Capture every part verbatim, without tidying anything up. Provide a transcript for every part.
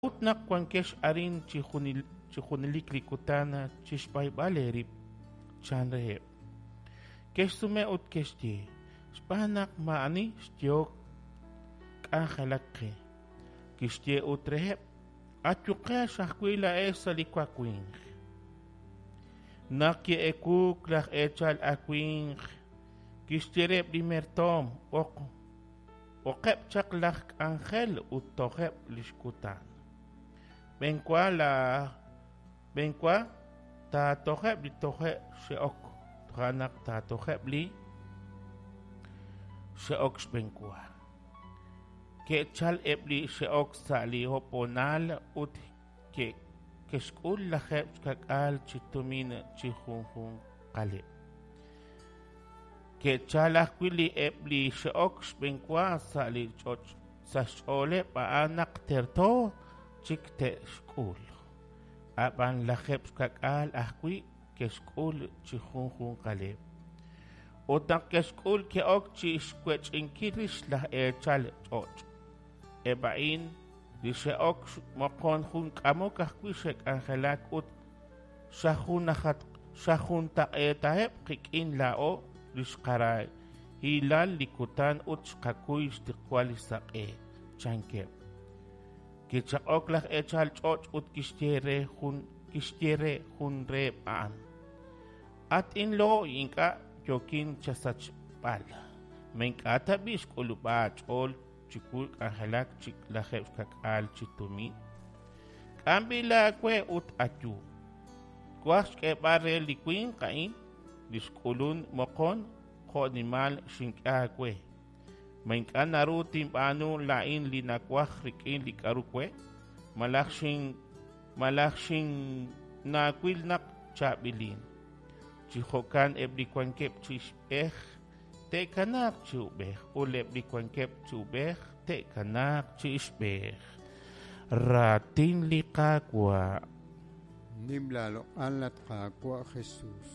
K'a'ut naq wankex arin chi junelik li kutan chi xb'ayb'al eerib'? Chan reheb'. Ke'xsume ut ke'xye: Xb'aan naq maa'ani xyehok k'anjelak qe. Kixye ut reheb': Ayuqex ajwi' laa'ex sa' li wawimq. Naq ki'ewuuk laj eechal awimq, kixye reheb' li mertoom: B'oqeb' chaq laj k'anjel ut tojeb' li xkutan. B'enwa b'enwa taatojeb' li toje' xe'ok, toja' naq taatojeb' li xe'ok xb'enwa. Ke'chalk eb' li xe'ok sa' li hoonal ut ke'xk'ul lajeeb' xka'k'aal chi tumin chi junjunqaleb'. Ke'chalk ajwi' eb' li xe'ok xb'enwa, sa' xch'ooleb' a'an naq terto chik te'xk'ul; ab'an lajeeb' xka'k'aal ajwi' ke'xk'ul chi junjunqaleb'. Ut naq ke'xk'ul, ke'ok chi xwech'inkil rix laj eechal ch'och': Eb' a'in li xe'ok moqon jun k'amok ajwi' xe'k'anjelak ut xajuntaq'eetaheb' qik'in laa'o li xqarahilal li kutan ut xqakuy xtiqwal li saq'e, chankeb'. Kichaq'ok laj eechal ch'och' ut kixye re jun kixye re jun reheb' a'an: At inlo'y, ink'a' yookin chasachb'al. Ma ink'a' tab'i' xk'ulub'a aach'ool chiwu k'anjelak chi lajeeb' xka'k'aal chi tumin? K'am b'i' laawe ut ayu. Twaj xk'eeb'al re li winq a'in li xk'ulunk moqon jo'nimal xink'e aawe. Ma ink'a' naru tinb'aanu laa'in li nawaj rik'in li k'aru we? Malaj xin malaj xinaawil naq chaab'ilin? Chi jo'kan eb' li wankeb' chi ixb'ej te'kanaaq chi ub'ej, ut eb' li wankeb' chi ub'ej te'kanaaq chi ixb'ej. Raatin li Qaawa'. Nim laaloq'al at Qaawa' Jesús.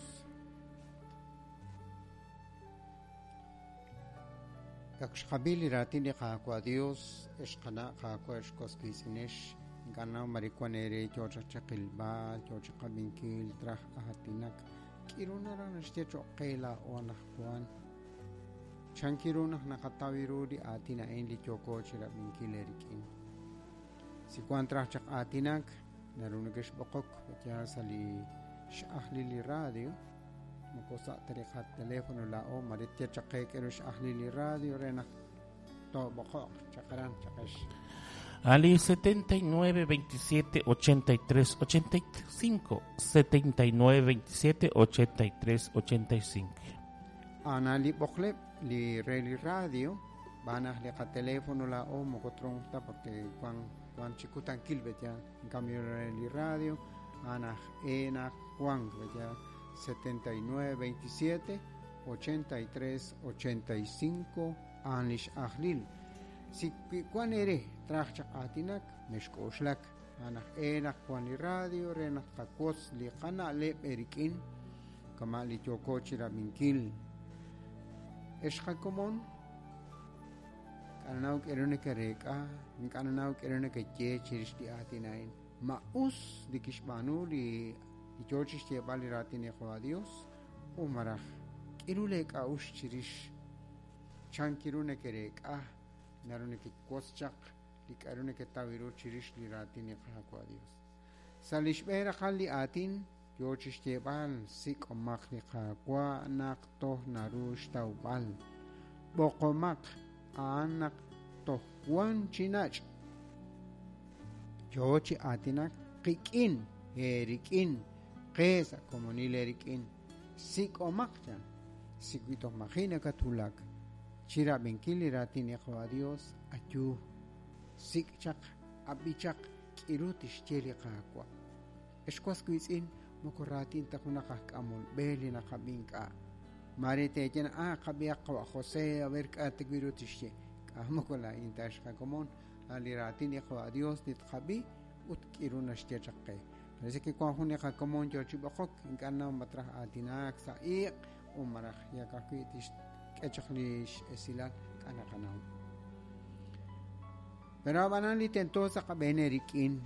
Ak xqab'i li raatin li Qaawa' Dios, ex qana' Qaawa' ex was qiitz'inex, ink'a' naw mare wan eere yoo chaq chiqilb'al, yoo chiqab'inkil, traj aatinak. K'iru naraj naxye choq' qe laa'o anaqwan. Chankiru naq naqataw ru li aatin a'in li yooko chirab'inkil eerik'in. Si wan traj chaq aatinak, naru nekexb'oqok ya sa' li x'ajlil li radio, moko sa' ta li qateléfono laa'o mare tye chaq qe k'eru x'ajlil li radio re naq toob'oqoq chaq aran chaqex. Ali setenta y nueve, veintisiete, ochenta y tres, ochenta y cinco, setenta y nueve, veintisiete, ochenta y tres, ochenta y cinco. Ana li b'oqleb' li re li radio, b'anaj li qateléfono laa'o moko tronq ta porque wan wan chikutankil bet ya, en cambio re li radio, anaj enaj wan bet ya, setenta y nueve, veintisiete, ochenta y tres, ochenta y cinco, an lix ajlil. Si wan ere traj chaq aatinak, mexk'oxlak, anaj enaj wan li radio, re naq qawotz li qana'leb' erik'in, kama' li yooko chirab'inkil. Ex qakomon, k'ananaw k'eru nekereek'a, k'ananaw k'eru nekeye chirix li aatin a'in. Ma us li kixb'aanu li li yoo chixyeeb'al li raatin li Qaawa' Dios, u maraj k'iru leek'a'ux chirix chankiru nekereek'a, naru nekewotz chaq li k'aru neketaw ru chirix li raatin li Qaawa' Dios. Sa' li xb'een raqal li aatin yoo chixyeeb'al sik'omaq li Qaawa' naq toj naru xtawb'al, b'oqomaq a'an naq toj wan chi nach'. Yoo chi aatinak qik'in eerik'in, qe sa' komonil eerik'in, sik'omaq chan, si wi toj maji' nakatwulak chirab'inkil li raatin li Qaawa' Dios, ayu, sik' chaq, ab'i chaq, k'iru tixye li Qaawa'. Ex was wiitz'in, moko raatin ta junaq aj k'amol b'e li naqab'i ink'a'. Mare teeye naq, ah, qab'ihaq Qawa' José, a ver k'a' ta wi ru tixye. K'a' moko laa'in ta ex qakomon, a li raatin li Qaawa' Dios li tqab'i ut k'iru naxye chaq qe. Parece que wan jun li qakomon yoo chi b'oqok, ink'a' naw matraj aatinak sa' iq' u maraj yak ajwi' tixk'e chaq li x'esilal k'a' naqanaw. Pero ab'anan li tento sa' qab'een eerik'in